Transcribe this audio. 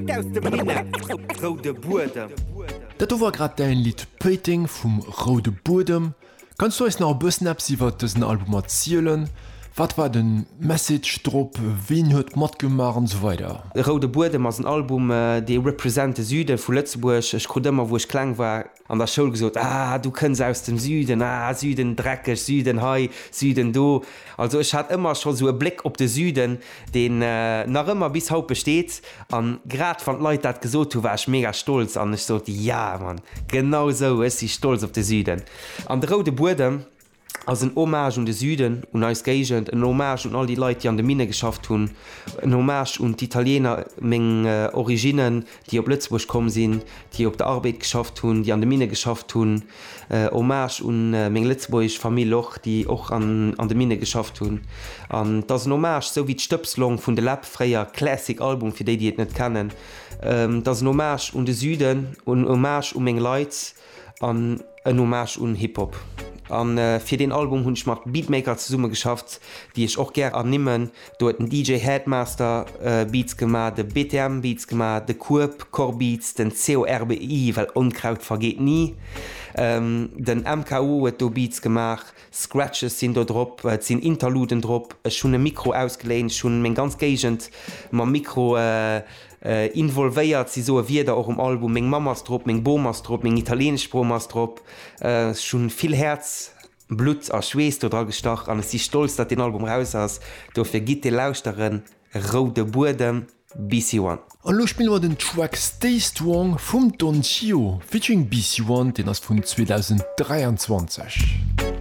Straight aus dem Minett, Roude Buedem. Dat do war grad däin Lidd Péiteng vum Roude Buedem. Kanns du eis nach e bëssen eppes iwwert dësen Album erzielen? Wat war den Message drop, ween huet matgemaach an esou weider? Roude Buedem ass en Album, dee represent de Süde vu Lëtzebuerg. Ech krut ëmmer, wou ech kleng war, an der Schoul gesot, Ah, du kënns aus dem Süden, ah, Süden dreckeg, Süden hei, Süden do. Also ech hat ëmmer scho sou e Bléck op de Süden, deen nach ëmmer bis haut besteet. An grad wann d'Leit dat gesot hu, war ech mega stolz an ech sot, Ja, Mann, genau sou, ech si stolz op de Süden. An de Roude Buedem ass en Hommage un de Süden, un eis Géigend, en Hommage un all déi Leit, déi an de Minne geschafft hunn, en Hommage un d'Italiener, meng Originnen, déi op Lëtzebuerg komm sinn, déi op der Arbed geschafft hunn, déi an de Minne geschafft hunn, Hommage un meng lëtzebuergesch Famill och, déi och an de Minne geschafft hunn. An et ass en Hommage, esou wéi d'Stëbslong vun de Läb fréier, Classic Album fir déi, déi et net kennen. Et ass en Hommage un de Süden, en Hommage u meng Leit. An en Hommage un Hip Hop. An fir deen Album hunn ech mat Beatmaker zesumme geschafft, déi ech och gär ernimmen. Do huet den DJ Headmaster Beats gemaach, de BTM Beats gemaach, de Kueb, Core Beats, den CORBI, well Onkraut vergeet ni, den MKO huet do Beats gemaach, Scratches sinn do drop, et sinn Interluden drop, ech hunn e Mikro ausgeléint, ech hunn meng ganz Géigend mam Mikro involvéiert, si soe Wierder och um Album, meng Mamm ass drop, meng Bom ass drop, meng italieenesch Bom ass drop. Ech hunn vill Häerz, Blutt a Schweess do dra gestach an ech si stolz, datt deen Album raus ass. Dofir gitt dee lauschteren, Roude Buedem, BC One. An elo spille mer den Track Stay Strong vum Don Chio featuring BC One, deen ass vun 2023.